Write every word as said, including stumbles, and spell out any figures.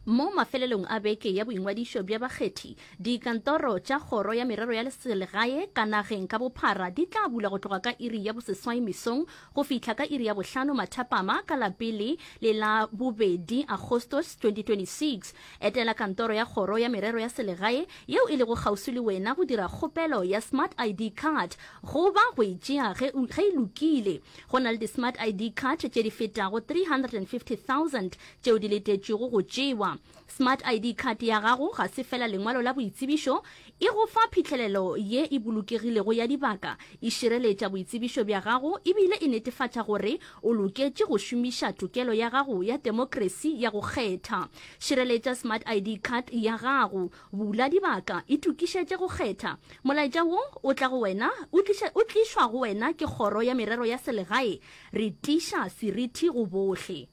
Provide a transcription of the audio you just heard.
Mo mafelelong a beke ya boingwadišo bja bakgethi, dikantoro tša Kgoro ya Merero ya Selegae ka nageng ka bophara di tla bulwa go tloga ka iri ya boseswai mesong go fihla ka iri ya bohlano mathapama ka la pele le la bobedi Agostose twenty twenty-six. Etela kantoro ya Kgoro ya Merero ya Selegae yeo e lego kgauswi le wena go dira kgopelo ya Smart I D card goba go e tšea ge ge e lokile. Go na le di-Smart I D card tše di fetago three hundred and fifty thousand tšeo di letetšwego go tšewa. Smart I D card ya gago ga se fela lengwalo la boitsebišo, e go fa phihlelelo ye e bolokegilego ya dibaka, e šireletša boitsebišo bja gago e bile e netefatša gore o loketše go šomiša tokelo ya gago ya temokrasi ya go kgetha. Šireletša Smart I D card ya gago. Bula dibaka, itokišetše go kgetha. Molaetša wo o tla go wena o tliša o tlišwa go wena ke Kgoro ya Merero ya Selegae. Re tiiša seriti go bohle.